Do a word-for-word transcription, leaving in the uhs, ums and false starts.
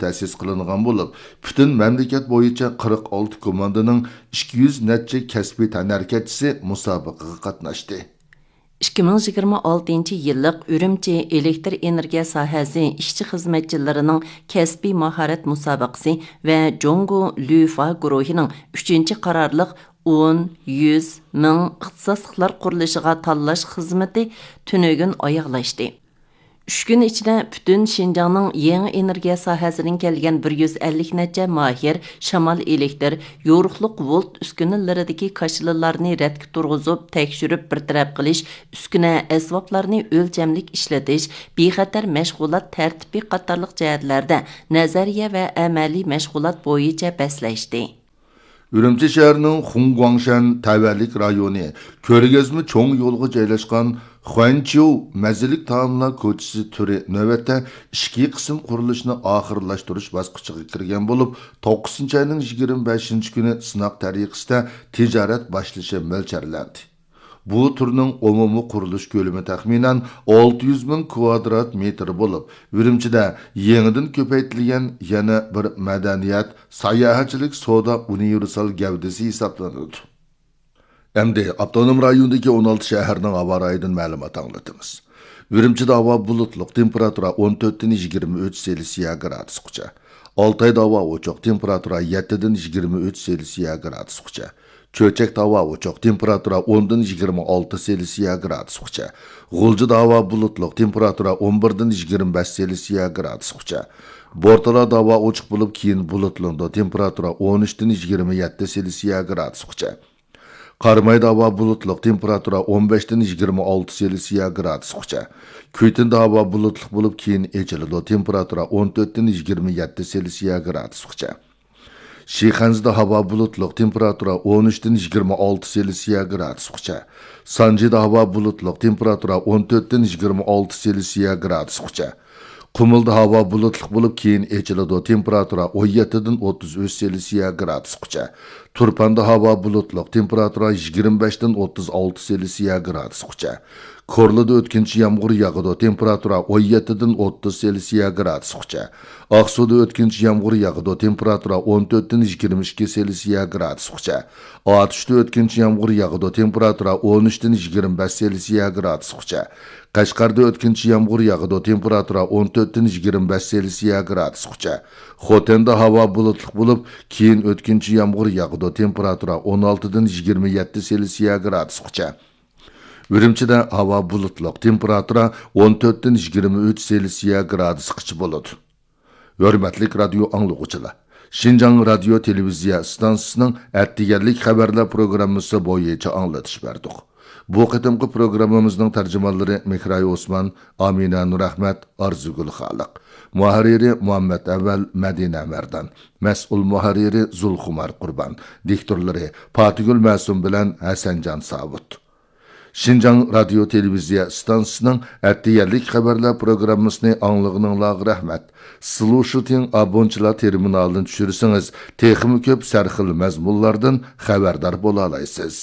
تەسىس قىلىنغان بولۇپ، پۈتۈن مەملىكەت بويىچە قىرىق ئالتە كوماندىنىڭ ئىككى يۈز نەچچە كەسپىي تەنھەرىكەتچىسى مۇسابىقىگە قاتناشتى. ئىككى مىڭ يىگىرمە ئالتىنچى يىللىق ئۈرۈمچى ئېلېكتر ئېنېرگىيە ساھەسى ئىشچى-خىزمەتچىلىرىنىڭ كەسپىي ماھارەت مۇسابىقىسى ۋە جۇڭگو لۈفا گۇرۇھىنىڭ ئۈچىنچى قارارلىق ئون، يۈز، مىڭ ئىختىساسلىقلار قۇرۇلۇشىغا تاللاش خىزمىتى تۈنۈگۈن ئاياغلاشتى. ئۈچ كۈن ئىچىدە پۈتۈن شىنجاڭنىڭ يېڭى ئېنېرگىيە ساھەسىدىن كەلگەن بىر يۈز ئەللىك نەچچە ماھىر شامال ئېلېكتر، يورۇقلۇق ۋولت ئۈسكۈنىلىرىدىكى كاشىلىلارنى رەتكە تۇرغۇزۇپ، تەكشۈرۈپ بىر تەرەپ قىلىش، ئۈسكۈنە ئەسۋابلارنى ئۆلچەملىك ئىشلىتىش، بىخەتەر مەشغۇلات تەرتىپى قاتارلىق جەھەتلەردە نەزەرىيە ۋە ئەمەلىي مەشغۇلات بويىچە بەسلەشتى. ئۈرۈمچى شەھىرىنىڭ خۇڭگۇاڭشەن تەۋەلىك رايونى كۆرگەزمە چوڭ يولىغا جايلاشقان خۇەنچيۇ مەززىلىك تائاملار كوچىسى تۈرى نۆۋەتتە ئىچكى قىسىم قۇرۇلۇشىنى ئاخىرلاشتۇرۇش باسقۇچىغا كىرگەن بولۇپ، توققۇزىنچى ئاينىڭ يىگىرمە بەشىنچى كۈنى سىناق تەرىقىسىدە تىجارەت باشلىشى مۆلچەرلەندى. بۇ تۈرنىڭ ئومۇمىي قۇرۇلۇش كۆلىمى تەخمىنەن ئالتە يۈز مىڭ كۋادرات مېتىر بولۇپ، ئۈرۈمچىدە يېڭىدىن كۆپەيتىلگەن يەنە بىر مەدەنىيەت، ساياھەتچىلىك سودا ئۇنىۋېرسال گەۋدىسى ھېسابلىنىدۇ. ئەمدى ئاپتونوم رايوندىكى ئون ئالتە شەھەرنىڭ ھاۋا رايىدىن مەلۇمات ئاڭلىتىمىز. ئۈرۈمچىدە ھاۋا بۇلۇتلۇق، تېمپېراتۇرا ئون تۆتتىن يىگىرمە ئۈچ سېلسىيە گرادۇسقىچە. ئالتايدا ھاۋا ئوچۇق، تېمپېراتۇرا يەتتىدىن يىگىرمە ئۈچ سېلسىيە گرادۇسقىچە. چۆچەكتە ھاۋا ئوچۇق، تېمپېراتۇرا ئوندىن يىگىرمە ئالتە سېلسىيە گرادۇسقىچە. غۇلجىدا ھاۋا بۇلۇتلۇق، تېمپېراتۇرا ئون بىردىن يىگىرمە بەش سېلسىيە گرادۇسقىچە. بورتالادا ھاۋا ئوچۇق بولۇپ، كېيىن بۇلۇتلىنىدۇ، تېمپېراتۇرا ئون ئۈچتىن يىگىرمە يەتتە سېلسىيە گرادۇسقىچە. قارامايدا ھاۋا بۇلۇتلۇق، تېمپېراتۇرا ئون بەشتىن يىگىرمە ئالتە سېلسىيە گرادۇسقىچە. كۈيتىندە ھاۋا بۇلۇتلۇق بولۇپ، كېيىن ئېچىلىدۇ، تېمپېراتۇرا ئون تۆتتىن يىگىرمە يەتتە سېلسىيە گرادۇسقىچە. شىخەنزىدە ھاۋا بۇلۇتلۇق، تېمپېراتۇرا ئون ئۈچتىن يىگىرمە ئالتە سېلسىيە گرادۇسقىچە. سانجىدا ھاۋا بۇلۇتلۇق، تېمپېراتۇرا ئون تۆتتىن يىگىرمە ئالتە سېلسىيە گرادۇسقىچە. قۇمۇلدا ھاۋا بۇلۇتلۇق بولۇپ، كېيىن ئېچىلىدۇ، تېمپېراتۇرا ئون يەتتىدىن ئوتتۇز ئۈچ سېلسىيە گرادۇسقىچە. تۇرپاندا ھاۋا بۇلۇتلۇق، تېمپېراتۇرا يىگىرمە بەشتىن ئوتتۇز ئالتە سېلسىيە گرادۇسقىچە. كورلىدا ئۆتكۈنچى يامغۇر ياغىدۇ، تېمپېراتۇرا ئون يەتتىدىن ئوتتۇز سېلسىيە گرادۇسقىچە. ئاقسۇدا ئۆتكۈنچى يامغۇر ياغىدۇ، تېمپېراتۇرا ئون تۆتتىن يىگىرمە ئىككى سېلسىيە گرادۇسقىچە. ئاتۇشتا ئۆتكۈنچى يامغۇر ياغىدۇ، تېمپېراتۇرا ئون ئۈچتىن يىگىرمە بەش سېلسىيە گرادۇسقىچە. قەشقەردە ئۆتكۈنچى يامغۇر ياغىدۇ، تېمپېراتۇرا ئون تۆتتىن يىگىرمە بەش سېلسىيە گرادۇسقىچە. خوتەندە ھاۋا بۇلۇتلۇق بولۇپ، كېيىن ئۆتكۈنچى يامغۇر ياغىدۇ، تېمپېراتۇرا ئون ئالتىدىن يىگىرمە يەتتە سېلسىيە گرادۇسقىچە. ئۈرۈمچىدە ھاۋا بۇلۇتلۇق، تېمپېراتۇرا ئون تۆتتىن يىگىرمە ئۈچ سېلسىيە گرادۇسقىچە بولىدۇ. ھۆرمەتلىك رادىيو ئاڭلىغۇچىلار، شىنجاڭ رادىيو تېلېۋىزىيە ئىستانسىسىنىڭ ئەتىگەنلىك خەۋەرلەر پروگراممىسى بويىچە ئاڭلىتىش بەردۇق. بۇ قېتىمقى پروگراممىمىزنىڭ تەرجىمانلىرى مېھراي ئوسمان، ئامىنە نۇرئەخمەت، ئارزۇگۈل خالىق. مۇھەررىرى مۇھەممەت ئەۋەل، مەدىنە مەردان. مەسئۇل مۇھەررىرى زۇلخۇمار قۇربان. دىكتورلىرى پاتىگۈل مەسۇم بىلەن ھەسەنجان ساۋۇت. شىنجاڭ رادىيو تېلېۋىزىيە ئىستانسىسىنىڭ ئەتىگەنلىك خەۋەرلەر پروگراممىسىنى ئاڭلىغىنىڭلارغا رەھمەت. سلۇشىتىڭ ئابونچىلار تېرمىنالىنى چۈشۈرسىڭىز، تېخىمۇ كۆپ سەرخىل مەزمۇنلاردىن خەۋەردار بولالايسىز.